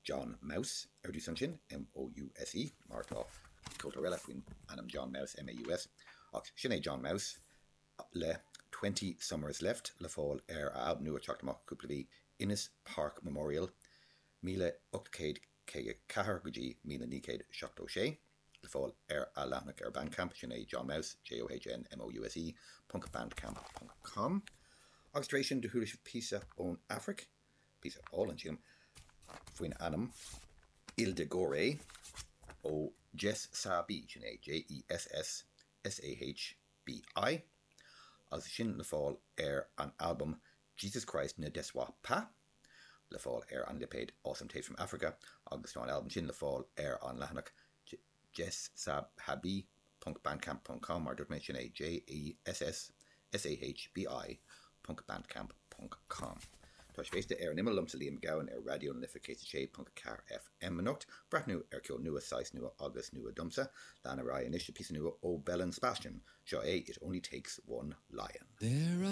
John Mouse ar dtús ansin, M-O-U-S-E, mar tá ceoltóir eile faoin ainm John Maus, M-A-U-S, ach sin é John Mouse le Twenty Summers Left le fáil ar a albam nua ag teacht amach cúpla mhí, Innes Park Memorial, 1854 go dtí 1976, le fáil ar a leathanach ar Bandcamp, sin é John Mouse, J-O-H-N-M-O-U-S-E, ponc bandcamp ponc com. Agus tar éis sin do chuala sibh píosa ón Afraic. píosa álainn sílim, faoin ainm Île de Gorée ó Jess Sahbi, sin é J-E-S-S S-A-H-B-I, agus sin le fáil ar an albam Jesus Christ Ne Déçoit Pas, le fáil ar an lipéad Awesome Tapes from Africa, agus tá an albam sin le fáil ar an leathanach jessahbi ponc bandcamp ponc com, mar a dúirt mé, sin é J-E-S-S S-A-H-B-I ponc bandcamp ponc com. Tá sibh ag éisteacht le Ar an Imeall liomsa Liam Mac Gabhann ar Raidió na Life 106.4 FM anocht. Breathnú ar ceol nua, saghas nua agus nua domsa. Lean ar aghaidh anois le píosa nua ó Belle and Sebastian. Seo é It Only Takes One Lion. There are.